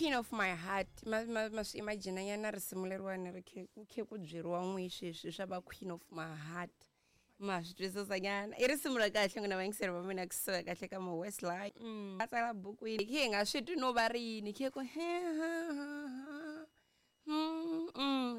Queen of my heart, ma ma ma swi imagine nyana risimu leriwani ri khe ku khe ku byeriwa n'wi sweswi swa va queen of my heart, ma swi twisisa nyana. I risimu ra kahle n'wina vayingiseri va mina, kusuka kahle ka mo Westlife. A tsala bukwini khe hi nga swi twi no va ri yini khe ku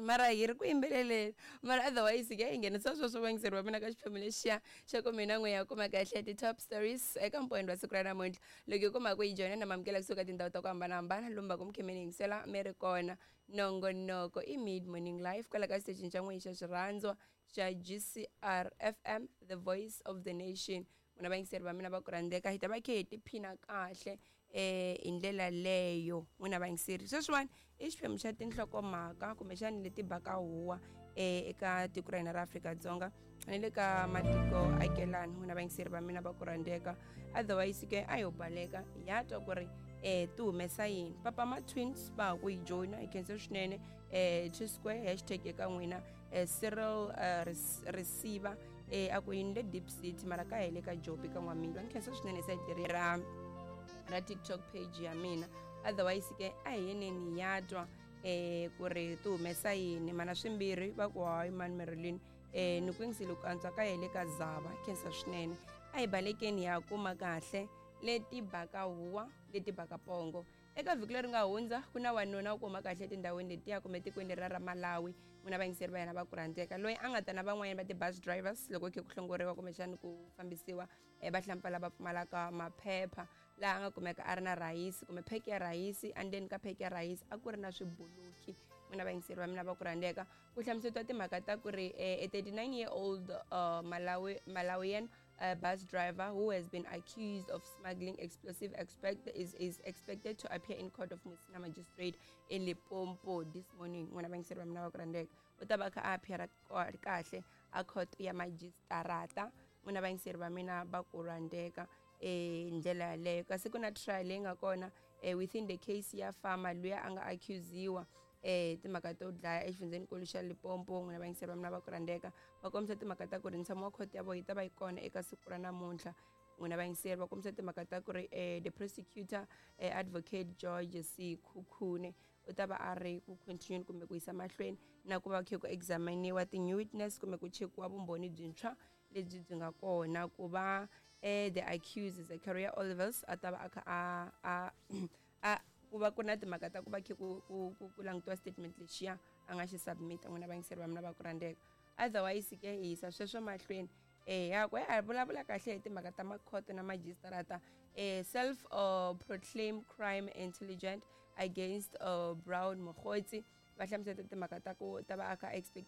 mara hi ri ku yimbeleleni, mara otherwise ke hi nghenisa sweswo vayingiseri va mina ka xiphemu lexiya xa ku mina n'we ya kuma kahle ti-top stories eka mpoweni wa siku ra namuntlha. Loko hi kuma ku yi joyina na mamukela kusuka tindhawu ta ku hambanahambana lomu va ku mi khe mi ni yingisela mi ri kona. Nongonoko i Mid Morning Life kwala ka xitecini xa n'wini xa xirhandzwa xa GCR FM, the voice of the nation. N'wina vayingiseri va mina va ku rhandzeka, hi ta va khe hi tiphina kahle hi ndlela leyo. N'wina vayingiseri, sweswiwani i xiphemu xa tinhlokomhaka kumbexani leti baka huwa eka tiko ra hina ra Afrika-Dzonga ni le ka matiko akelani. N'wina vayingiseri va mina va ku rhandzeka, otherwise ke a yo baleka ya twa ku ri ti humesa yini. Papa ma twins va ha ku yi joyina, hi khense swinene. Two square hashtag eka n'wina. Cyril Risiva a ku yini le Deep City, mara ka hele ka Jobi ka n'wamila. Ni khensa swinene site leri ra TikTok page ya mina. Otherwise ke a hi yeneni ya twa ku ri ti humesa yini. Mana swimbirhi va ku hayi mani Marilyn, ni ku yingisile ku antswa ka hele ka zava. Khensa swinene. A hi balekeni ya kuma kahle leti baka huwa, leti baka pongo. Eka vhiki leri nga hundza ku na wanuna wo kuma kahle etindhawini letiya kumbe etikweni leri ra Malawi, n'wina vayingiseri va yena va ku rhandzeka, loyi a nga ta na van'wanyana va ti-bus drivers loko khe ku hlongoriwa kumbexani ku fambisiwa vahlampfa lava pfumalaka maphepha, laha a nga kumeka a ri na rhayisi kumbe pheke ya rhayisi. Endzeni ka pheke ya rhayisi a ku ri na swibuluki. N'wina vayingiseri va mina va ku rhandzeka, ku hlamusetiwa timhaka ta ku ri a 39 year old Malawian bus driver who has been accused of smuggling explosive is expected to appear in court of Musina magistrate in Limpopo this morning. N'wina vayingiseri va mina va ku rhandzeka, u ta va kha a appear kahle a court ya majistarata. N'wina vayingiseri va mina va ku rhandzeka, ndlela yaleyo. Kasi ku na trial leyi nga kona within the case ya farmer luya a nga accusiwa timhaka to dlaya exifundzhenikulu xa Limpopo. N'wina vayingiseri va mina va ku rhandzeka, va kombisa timhaka ta ku ri ntshamo wa court ya vona yi ta va yi kona eka siku ra namuntlha. N'wina vayingiseri, va kombisa timhaka ta ku ri the prosecutor, advocate George C Khukhune, u ta va a ri ku continue kumbe ku yisa mahlweni na ku va khe ku examiniwa ti-new witness kumbe ku chekiwa vumbhoni byintshwa lebyi byi nga kona ku va the accused Zachariah Olivers a ta va a kha a ku va ku na timhaka ta ku va khe ku langutiwa statement lexiya a nga xi submit. N'wina vayingiseri va mina va ku rhandzeka, otherwise ke hi yisa sweswo mahlweni. Ya ku a vulavula kahle hi timhaka ta makhoto na majistarata. Self proclaim crime intelligent against Brown Mogotsi, va hlamuseta timhaka ta ku ta va a kha expect